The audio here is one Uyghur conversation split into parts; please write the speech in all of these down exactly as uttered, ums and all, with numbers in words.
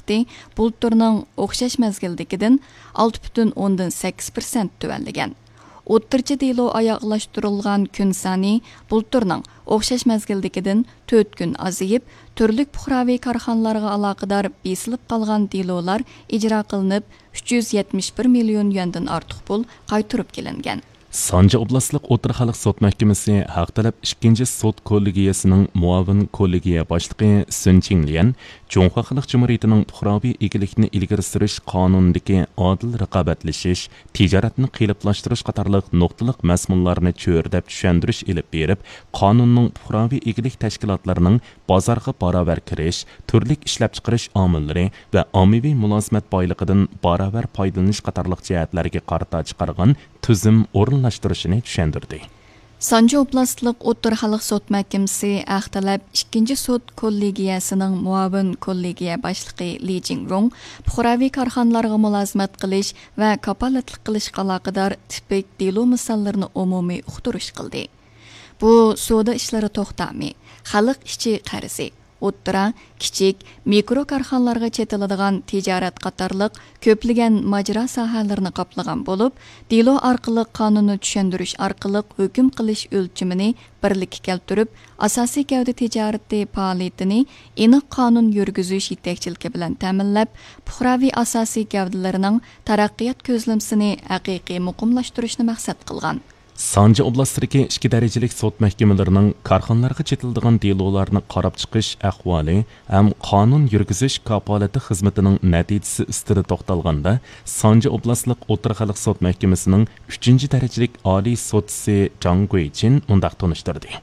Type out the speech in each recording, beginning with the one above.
سۈپىتى بۇلتۇرنىڭ ئوخشاش مەزگىلدىكىدىن ئالتە پۈتۈن ئوندىن سەككىز پىرسەنت تۆۋەنلىگەن. ئوتتۇرىچە دېلو ئاياغلاشتۇرۇلغان كۈن سانى بۇلتۇرنىڭ ئوخشاش مەزگىلدىكىدىن تۆت كۈن ئازىيىپ، تۈرلۈك پۇقراۋى كارخانىلارغا ئالاقىدار بېسىلىپ قالغان دېلولار ئىجرا قىلىنىپ، ئۈچ يۈز يەتمىش بىر مىليون يۈەندىن ئارتۇق پۇل قايتۇرۇپ كېلىنگەن. سانجى ئوبلاستلىق ئوتتۇرا خەلق سوت مەھكىمىسى ھەق تەلەپ ئىككىنچى سوت كوللېگىيەسىنىڭ مۇئاۋىن كوللېگىيە باشلىقى سۈن چىڭليەن جۇڭخۇا خەلق جۇمھۇرىيىتىنىڭ پۇقراۋى ئىگىلىكنى ئىلگىرى سۈرۈش قانۇنىدىكى ئادىل رىقابەتلىشىش، تىجارەتنى قېلىپلاشتۇرۇش قاتارلىق نۇقتىلىق مەزمۇنلارنى چۆرىدەپ چۈشەندۈرۈش ئېلىپ بېرىپ، قانۇننىڭ پۇقراۋى ئىگىلىك تەشكىلاتلىرىنىڭ بازارغا باراۋەر كىرىش، تۈرلۈك ئىشلەپچىقىرىش ئامىللىرى ۋە ئاممىۋى مۇلازىمەت بايلىقىدىن باراۋەر پايدىلىنىش قاتارلىق جەھەتلەرگە قارىتا چىقارغان تۈزۈم ئورۇنلاشتۇرۇشىنى چۈشەندۈردى. سانجى ئوبلاستلىق ئوتتۇرا خەلق سوت مەھكىمىسى ھەق تەلەپ ئىككىنچى سوت كوللېگىيەسىنىڭ مۇئاۋىن كوللېگىيە باشلىقى لى جىڭرۇڭ پۇقراۋى كارخانىلارغا مۇلازىمەت قىلىش ۋە كاپالەتلىك قىلىشقا ئالاقىدار تىپىك دېلو مىساللىرىنى ئومۇمىي ئۇقتۇرۇش قىلدى. بۇ سودا ئىشلىرى توختامى، خەلق ئىچى قەرزى، ئوتتۇرا، كىچىك، مىكرو كارخانىلارغا چېتىلىدىغان تىجارەت قاتارلىق كۆپلىگەن ماجىرا ساھەلىرىنى قاپلىغان بولۇپ، دېلو ئارقىلىق قانۇننى چۈشەندۈرۈش ئارقىلىق ھۆكۈم قىلىش ئۆلچىمىنى بىرلىككە كەلتۈرۈپ، ئاساسىي گەۋدە تىجارىتى پائالىيىتىنى ئېنىق قانۇن يۈرگۈزۈش يېتەكچىلىكى بىلەن تەمىنلەپ، پۇقراۋى ئاساسىي گەۋدىلىرىنىڭ تەرەققىيات كۆزلىمىسىنى ھەقىقىي مۇقىملاشتۇرۇشنى مەقسەت قىلغان. سانجى ئوبلاستىدىكى ئىككى دەرىجىلىك سوت مەھكىمىلىرىنىڭ كارخانىلارغا چېتىلىدىغان دېلولارنى قاراپ چىقىش ئەھۋالى ھەم قانۇن يۈرگۈزۈش كاپالىتى خىزمىتىنىڭ نەتىجىسى ئۈستىدە توختالغاندا، سانجى ئوبلاستلىق ئوتتۇرا خەلق سوت مەھكىمىسىنىڭ ئۈچىنچى دەرىجىلىك ئالىي سوتچىسى جاڭ گۇيچىن مۇنداق تونۇشتۇردى.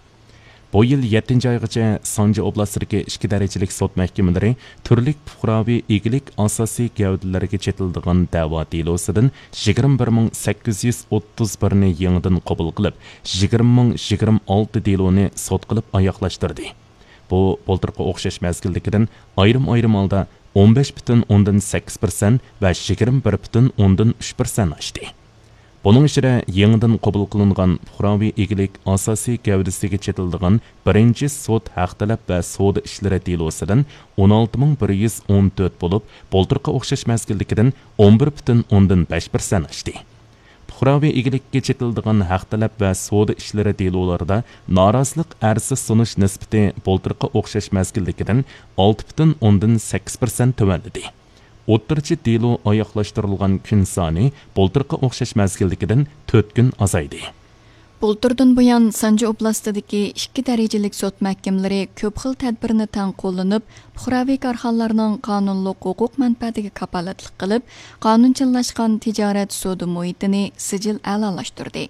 بۇ يىل يەتتىنچى ئايغىچە سانجى ئوبلاستىدىكى ئىككى دەرىجىلىك سوت مەھكىمىلىرى تۈرلۈك پۇقراۋى ئىگىلىك ئاساسىي گەۋدىلىرىگە چېتىلىدىغان دەۋا دېلوسىدىن يىگىرمە بىر مىڭ سەككىز يۈز ئوتتۇز بىرنى يېڭىدىن قوبۇل قىلىپ، يىگىرمە مىڭ يىگىرمە ئالتە دېلونى سوت قىلىپ ئاياغلاشتۇردى. بۇ بۇلتۇرقى ئوخشاش مەزگىلدىكىدىن ئايرىم-ئايرىم ھالدا ئون بەش پۈتۈن ئوندىن سەككىز پىرسەنت ۋە يىگىرمە بىر پۈتۈن ئوندىن ئۈچ پىرسەنت ئاشتى. بۇنىڭ ئىچىدە يېڭىدىن قوبۇل قىلىنغان پۇقراۋى ئىگىلىك ئاساسىي گەۋدىسىگە چېتىلىدىغان بىرىنچى سوت ھەق تەلەپ ۋە سودا ئىشلىرى دېلوسىدىن ئون ئالتە مىڭ بىر يۈز ئون تۆت بولۇپ، بۇلتۇرقى ئوخشاش مەزگىلدىكىدىن ئون بىر پۈتۈن ئوندىن بەش پىرسەنت ئاشتى. پۇقراۋى ئىگىلىككە چېتىلىدىغان ھەق تەلەپ ۋە سودا ئىشلىرى دېلولىرىدا نارازىلىق ئەرزى سۇنۇش نىسبىتى بۇلتۇرقى ئوخشاش مەزگىلدىكىدىن ئالتە پۈتۈن ئوندىن سەككىز پىرسەنت تۆۋەنلىدى. ئوتتۇرىچە دېلو ئاياغلاشتۇرۇلغان كۈن سانى بۇلتۇرقى ئوخشاش مەزگىلدىكىدىن تۆت كۈن ئازايدى. بۇلتۇردىن بۇيان، سانجى ئوبلاستىدىكى ئىككى دەرىجىلىك سوت مەھكىمىلىرى كۆپ خىل تەدبىرنى تەڭ قوللىنىپ، پۇقراۋى كارخانىلارنىڭ قانۇنلۇق ھوقۇق مەنپەئەتىگە كاپالەتلىك قىلىپ، قانۇنچىللاشقان تىجارەت سودا مۇھىتىنى سىجىل ئەلالاشتۇردى.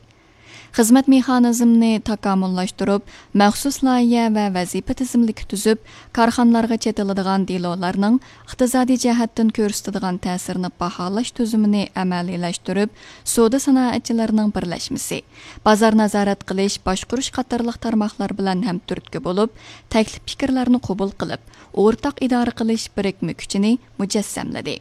خىزمەت مېخانىزمىنى تاكامۇللاشتۇرۇپ، مەخسۇس لايىھە ۋە ۋەزىپە تىزىملىكى تۈزۈپ، كارخانىلارغا چېتىلىدىغان دېلولارنىڭ ئىقتىسادىي جەھەتتىن كۆرسىتىدىغان تەسىرىنى باھالاش تۈزۈمىنى ئەمەلىيلەشتۈرۈپ، سودا سانائەتچىلىرىنىڭ بىرلەشمىسى، بازار نازارەت قىلىش، باشقۇرۇش قاتارلىق تارماقلار بىلەن ھەمتۈرتكە بولۇپ، تەكلىپ پىكىرلەرنى قوبۇل قىلىپ، ئورتاق ئىدارە قىلىش بىرىكمە كۈچىنى مۇجەسسەملىدى.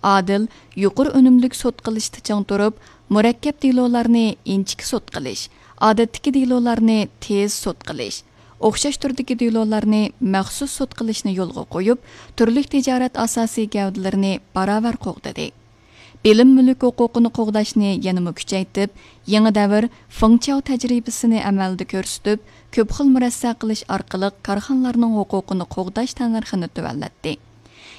ئادىل، يۇقىرى ئۈنۈملۈك سوت قىلىشتا چىڭ تۇرۇپ، مۇرەككەپ دېلولارنى ئىنچىكە سوت قىلىش، ئادەتتىكى دېلولارنى تېز سوت قىلىش، ئوخشاش تۈردىكى دېلولارنى مەخسۇس سوت قىلىشنى يولغا قويۇپ، تۈرلۈك تىجارەت ئاساسىي گەۋدىلىرىنى باراۋەر قوغدىدى. بىلىم مۈلۈك ھوقۇقىنى قوغداشنى يەنىمۇ كۈچەيتىپ، يېڭى دەۋر فېڭچياۋ تەجرىبىسىنى ئەمەلدە كۆرسىتىپ، كۆپ خىل مۇرەسسە قىلىش ئارقىلىق كارخانىلارنىڭ ھوقۇقىنى قوغداش تەننەرخىنى تۆۋەنلەتتى.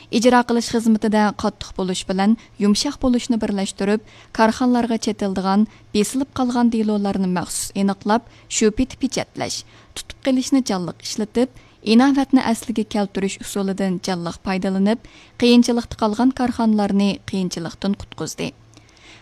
ئىجرا قىلىش خىزمىتىدە قاتتىق بولۇش بىلەن يۇمشاق بولۇشنى بىرلەشتۈرۈپ، كارخانىلارغا چېتىلىدىغان، بېسىلىپ قالغان دېلولارنى مەخسۇس ئېنىقلاپ، شۇ پېتى پېچەتلەش، تۇتۇپ قېلىشنى جانلىق ئىشلىتىپ، ئىناۋەتنى ئەسلىگە كەلتۈرۈش ئۇسۇلىدىن جانلىق پايدىلىنىپ، قىيىنچىلىقتا قالغان كارخانىلارنى قىيىنچىلىقتىن قۇتقۇزدى.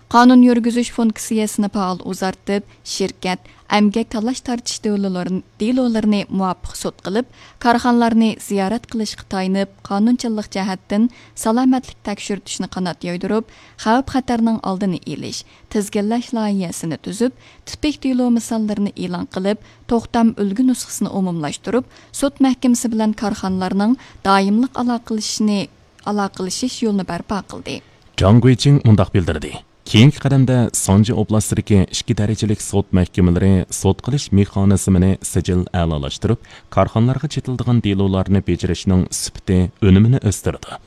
قانۇن يۈرگۈزۈش فۇنكسىيەسىنى پائال ئۇزارتىپ، شىركەت، ئەمگەك تالاش-تارتىش دېلولىرىنى، دېلولىرىنى مۇۋاپىق سوت قىلىپ، كارخانىلارنى زىيارەت قىلىشقا تايىنىپ، قانۇنچىللىق جەھەتتىن سالامەتلىك تەكشۈرتۈشنى قانات يايدۇرۇپ، خەۋپ-خەتەرنىڭ ئالدىنى ئېلىش، تىزگىنلەش لايىھەسىنى تۈزۈپ، تىپىك دېلو مىساللىرىنى ئېلان قىلىپ، توختام ئۈلگە نۇسخىسىنى ئومۇملاشتۇرۇپ، سوت مەھكىمىسى بىلەن كارخانىلارنىڭ دائىملىق ئالاقىلىشىشىنى، ئالاقىلىشىش يولىنى بەرپا قىلدى. جاڭ گۇيچىڭ مۇنداق بىلدۈردى. كېيىنكى قەدەمدە سانجى ئوبلاستىدىكى ئىككى دەرىجىلىك سوت مەھكىمىلىرى سوت قىلىش مېخانىزمىنى سىجىل ئەلالاشتۇرۇپ، كارخانىلارغا چېتىلىدىغان دېلولارنى بېجىرىشنىڭ سۈپىتى، ئۈنۈمىنى ئۆستۈرىدۇ.